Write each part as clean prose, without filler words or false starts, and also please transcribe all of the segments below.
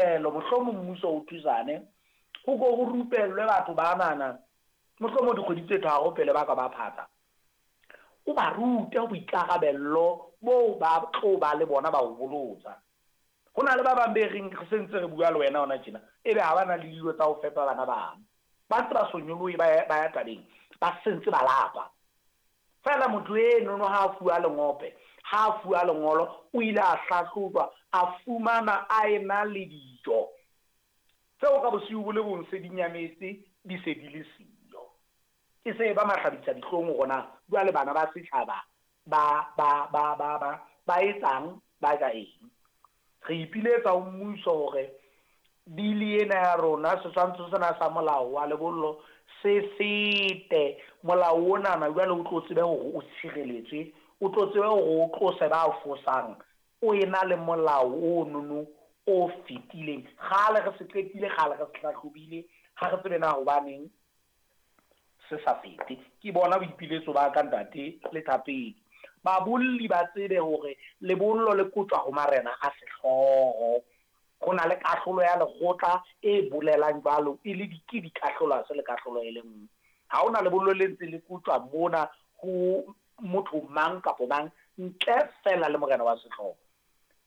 Mohlomong mmuso o thusane, ho ko ho rupellwe batho banana, mohlomong dikgwedi tse tharo pele ba ka ba phatsa, o ba rute boikarabello boo ba tlo ba le bona ba ho bolotsa. Ho na le ba bang be reng re se ntse re bua le wena hona tjena, ebe ha ba na le dijo tsa ho fepa bana bano. Ba ntse ba so nyolohe ba ya tabeng, ba sentse ba lapa. Feela motho enono ha a fuwa lengope, ha a fuwa lengolo, o ile a hlahlojwa, a fumana a ena le dijo tseo ka bosiu bo le bong se di nyametse, di se di le siyo. E se e ba mahlabisa dihlong hore na jwale bana ba setjhaba ba, ba, ba, ba, ba, ba etsang, ba ja eng. Re ipiletsa ho mmuso hore bili ena ya rona, setshwantsho sena sa molao wa lebollo se fete. Molao onana jwale o tlo tsebe hore o tshireletswe, o tlo tsebe hore o tlose ba fosang, o ena le molao ono o fetileng. Kgale re se qetile, kgale re se hlahlobile, ha re tsebe na hobaneng se sa fete. Ke bona boipiletso ba ka, ntate le thapedi. Babolli ba tsebe hore lebollo le kotjwa ho marena a sehlooho. Ho na le kahlolo ya lekgotla e bolelang jwalo, e le ke dikahlolo, ha se le kahlolo e le nngwe. Ha hona lebollo le ntse le kotjwa mona ho motho mang kapa mang ntle feela le morena wa sehlooho.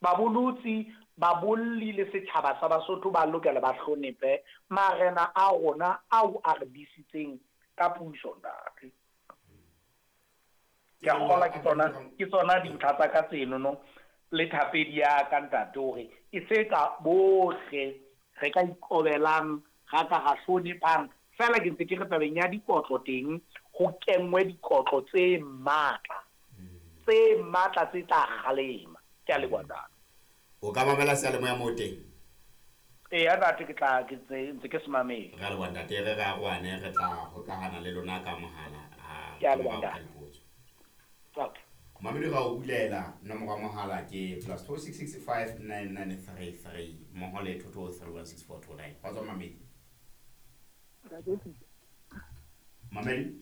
Babolotsi, babolli le setjhaba sa Basotho ba lokela ba hlonephe marena a rona ao a re disitseng ka puso, ntate. Ke a kgolwa ke tsona, ke tsona dintlha tsa ka tsenono le thapedi ya ka, ntate, hore e se ka bohle re ka ikobelang, ra ka ra hloniphang. Feela ke ntse ke re tabeng ya dikotlo teng, ho kenngwe dikotlo tse matla, tse matla tse tla kgalema. Ke a leboha, ntate. O ka mamela seyalemoya moo teng? Eya, ntate, ke tla ke ntse ke se mamela. Re a leboha, ntate. Re re arohane, re tla hokahana le lona ka mohala ha Ke a leboha, morao ka ntate. dipotso. Okay. Mamedi ra o bulela nomoro ya mohala ke +266 59933 mmoho le 22316429. Kgotso Mamedi. Ntate. Mamedi.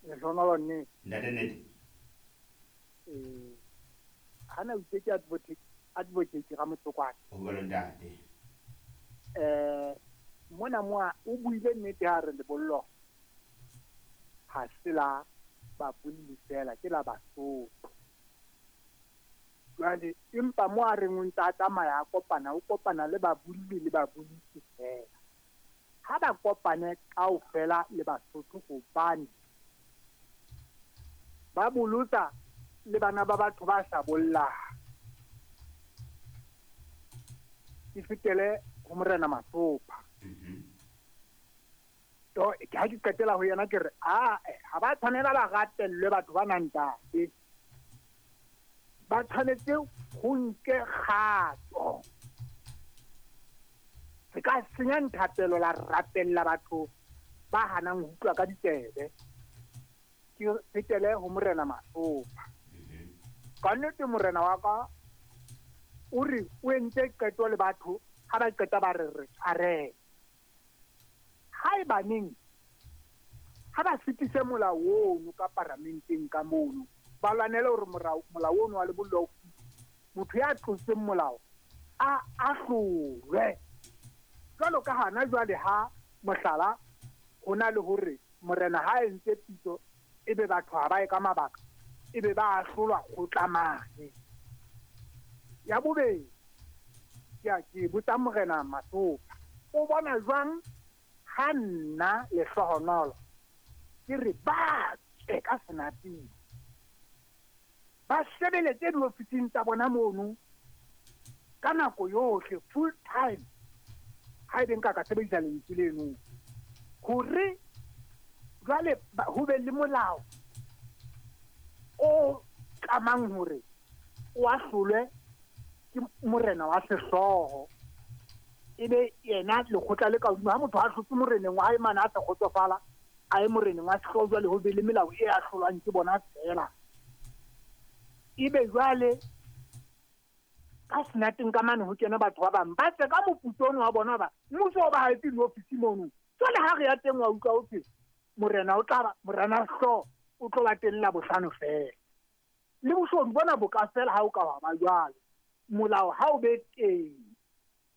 Lehlohonolo nnete. Ntate nnete. Hana o itse ke advocate Ramotsokwane. Ho jwalo, ntate. Mona moa o buile nnete ha re lebollo ha se la babolli fela, ke la Basotho. Jwale empa mo a reng o ntse a tsamaya a kopana, o kopana le babolli le babolisi fela. Ha ba kopane kaofela le Basotho hobane ba bolotsa le bana ba batho ba sa bollang. Ke fetele ho Morena Masopha. To ke ha ke qetela ho yena ke re, ae, ha ba tshwanela ba ratellwe batho ba nang ntate. Ba tshwanetse ho nke kgato. Se ka senya nthapelo la rapella batho ba hanang ho utlwa ka ditsebe. Ke fetele ho Morena Masopha. Ka nnete morena wa ka o re o entse qeto le batho, ha ba qeta ba re re tshwarele. Haebaneng ha ba fetise molao ono ka paramenteng ka mono, ba lwanele hore molao ono wa lebollo o fete. Motho ya tlotseng molao a ahlolwe. Jwalo ka hana jwale ha mohlala ho na le hore morena ha entse pitso ebe batho ha ba ye ka mabaka, ebe ba ahlolwa kgotla mane. Ya bobedi, ke a ke botsa Morena Masopha, o bona jwang ha nna Lehlohonolo ke re ba tswe ka senateng, ba sebeletse diofising tsa bona mono ka nako yohle, full time, ha ebe nka ka sebedisa lentswe leno, hore jwale ho be le molao o tlamang hore o ahlolwe ke morena wa sehlooho, ebe yena lekgotla le ka hodimo. Ha motho a hlotse moreneng wa hae mane a sa kgotsofala, a ye moreneng wa sehlooho, jwale ho be le melao e ahlolwang ke bona feela. Ebe jwale ka senateng ka mane ho kena batho ba bang ba tle ka moputso ono wa bona, ba mmuso o ba haetse diofisi mono. Jwale ha re ya teng wa utlwa ho thwe morena o tla ba, morena hlooho o tlo ba teng Labohlano feela. Le boshodu bona bo ka fela ha o ka wa ba jwalo. Molao ha o be teng.